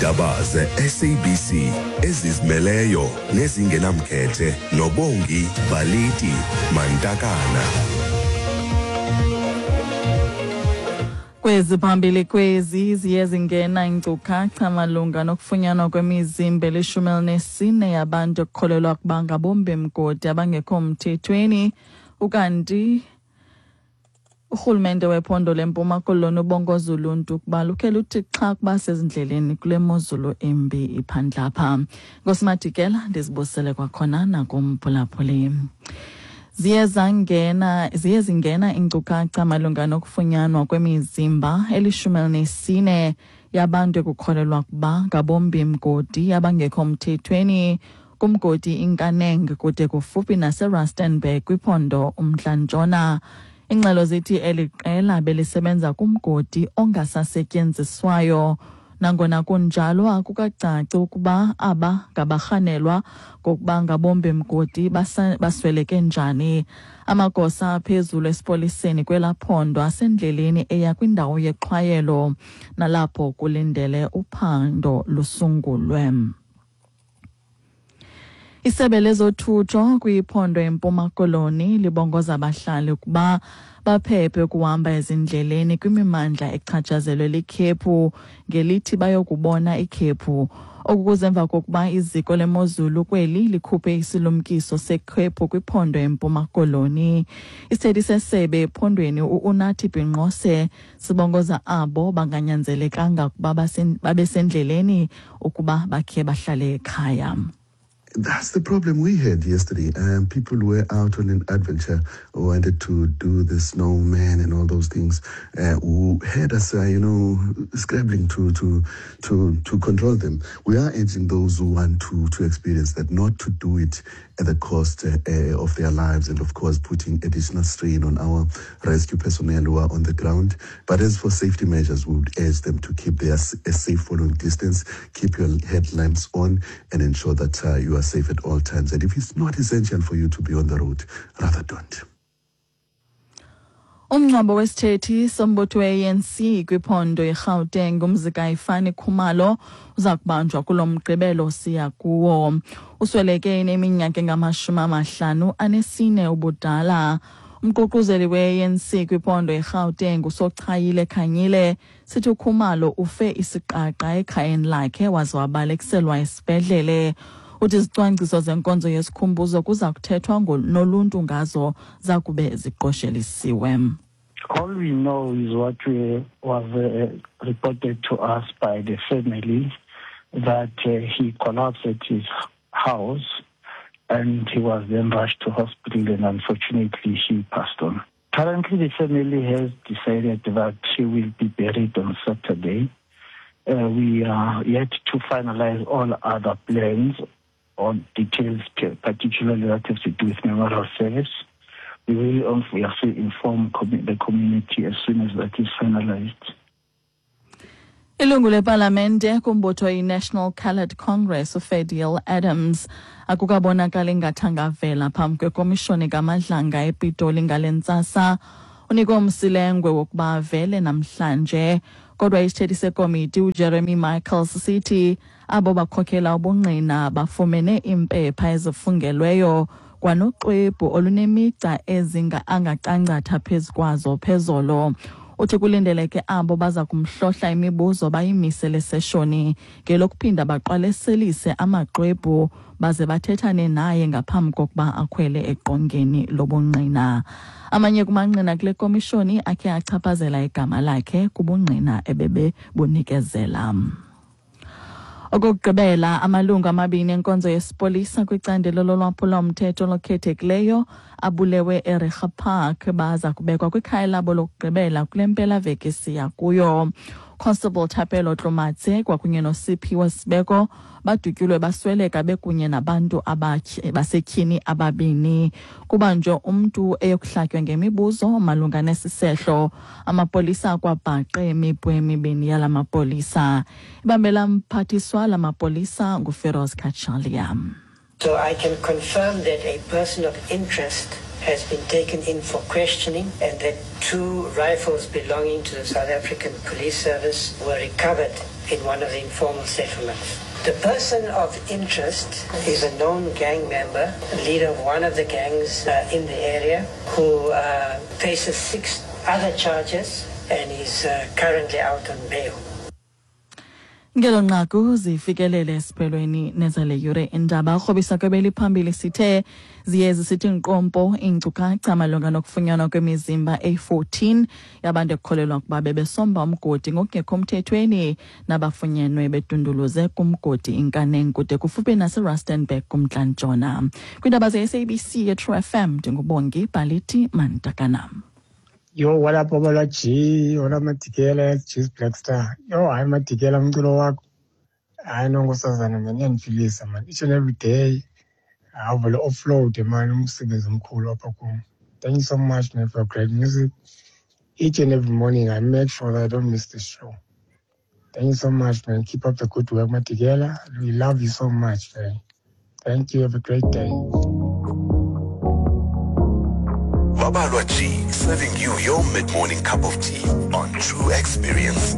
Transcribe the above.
Iindaba ze-SABC ezizimeleyo nezingenamkhethe noBongi Baliti Mantakana. Kwezi phambili kwezi ziye zingena iinkcukacha malunga nokufunyanwa kwemizimba elishumi elinesine yabantu ekukholelwa ukuba ngabombi mgodi abangekho mthethweni. Ukanti urhulumente wephondo leMpuma Koloni ubongoza uluntu ukuba lukhe luthi xha kuba sezindleleni kule mozulu embi iphandlapha. Nkosi ndizibusele kwakhona nakumphulaphuli. Ziye zangena ziye zingena iinkcukacha malunga nokufunyanwa kwemizimba elishumi elinesine yabantu ekukholelwa ukuba ngabombi mgodi abangekho mthethweni kumgodi iNkaneng kude kufuphi naseRustenburg kwiphondo uMntla-Ntshona. Ingxelo zithi eli qela belisebenza kumgodi ongasasetyenziswayo. Nangona kunjalo, akukacaci ukuba aba ngabarhanelwa ngokuba ngabombi mgodi basweleke njani. Amagosa aphezulu esipoliseni kwelaa phondo asendleleni eya kwindawo yexhwayelo nalapho kulindele uphando lusungulwe. Isebe lezothutho kwiphondo eMpuma Koloni libongoza abahlali ukuba baphephe ukuhamba ezindleleni kwimimandla echatshazelwe likhephu ngelithi bayokubona ikhephu. Oku kuze emva kokuba iziko lemozulu kweli likhuphe isilumkiso sekhephu kwiphondo eMpuma Koloni. Isithethi sesebe ephondweni u-Unathi Binqose sibongoza abo banganyanzelekanga ukuba babe sendleleni ukuba bakhe bahlale ekhaya. That's the problem we had yesterday. People were out on an adventure, wanted to do the snowman and all those things, who had us, scrambling to control them. We are urging those who want to experience that not to do it at the cost of their lives and, of course, putting additional strain on our rescue personnel who are on the ground. But as for safety measures, we would urge them to keep their a safe following distance, keep your headlamps on, and ensure that you are safe at all times. And if it's not essential for you to be on the road, rather don't. Umngcwabo wesithethi sombutho we-ANC kwiphondo iGauteng, uMzikayifani Khumalo, uza kubanjwa kulo Mgqibelo siya kuwo. Usweleke eneminyaka engama-54 ubudala. Umququzeli we-ANC kwiphondo iGauteng, uSochayile Khanyile, sithi uKhumalo ufe isiqaqa ekhayeni lakhe waze wabalekiselwa esibhedlele. Uthi izicwangciso zenkonzo yesikhumbuzo kuza kuthethwa noluntu ngazo zakube ziqoshelisiwe. All we know is what was reported to us by the family, that he collapsed at his house and he was then rushed to hospital, and unfortunately he passed on. Currently the family has decided that he will be buried on Saturday. We are yet to finalize all other plans on details, particularly that have to do with memorial service. We will obviously inform the community as soon as that is finalized. Ilungu lepalamente kumbutho i-National Coloured Congress, uFadiel Adams, akukabonakali ngathanga avela phambi kwekomishoni kaMadlanga ePitoli ngale ntsasa. Unikwe umsilengwe wokuba avele namhlanje, kodwa isithethi sekomiti uJeremy Michaels sithi abo bakhokela ubungqina bafumene iimpepha ezifungelweyo kwanoxwebhu olunemigca ezinga angacangcatha phezu kwazo phezolo. Uthi kulindeleke abo baza kumhlohla imibuzo bayimise le seshoni ngelokuphinda baqwaleselise amaxwebhu baze bathethane naye ngaphambi kokuba akhwele eqongeni lobungqina. Amanye kumangqina kule komishoni akhe achaphazela igama lakhe kubungqina ebebebunikezela. Okokugqibela, amalungu amabini enkonzo yesipolisa kwicandelo lolwaphulomthetho olukhethekileyo abulewe eReiger Park baza kubekwa kwikhaya labo lokugqibela kule mpelaveki siya kuyo. Constable Thapelo Tlomatse kwakunye noSiphiwe Sibeko badutyulwe basweleka bekunye nabantu basetyhini ababini. Kubanjwe umntu eyokuhlatywa ngemibuzo malunga nesi sehlo. Amapolisa akwabhaqe imipu emibini yala mapolisa. Ibambela mphathiswa la mapolisa nguFeroz Cachalia. So I can confirm that a person of interest has been taken in for questioning and that two rifles belonging to the South African Police Service were recovered in one of the informal settlements. The person of interest is a known gang member, leader of one of the gangs in the area, who faces six other charges and is currently out on bail. Ngelo nqaku zifikelele esiphelweni nezale yure indaba. Ukrobisa kwebeliphambili sithe ziye zisithi nqompo iinkcukacha malunga nokufunyanwa kwemizimba eyi-14 yabantu ekukholelwa ukuba bebesomba umgodi ngokungekho mthethweni nabafunyenwe bedunduluze kumgodi iNkaneng kude kufuphi naseRustenburg kumntla-ntshona. Kwiindaba ze-SABC yeTrue FM, ndinguBongi Bhaliti Mantakanam. Yo, what up, Babalwa G? What up, Madikela? It's Juice Black Star. Yo, hayi Madikela, umculo wakho. Hayi no, nkosazana man, iyandifilisa man. Each and every day, awuvele offload man, umsebenzi omkhulu apha kum. Thank you so much, man, for your great music. Each and every morning, I make sure that I don't miss the show. Thank you so much, man. Keep up the good work, Madikela. We love you so much, man. Thank you. Have a great day. Babalwa G, serving you your mid-morning cup of tea on True Experience.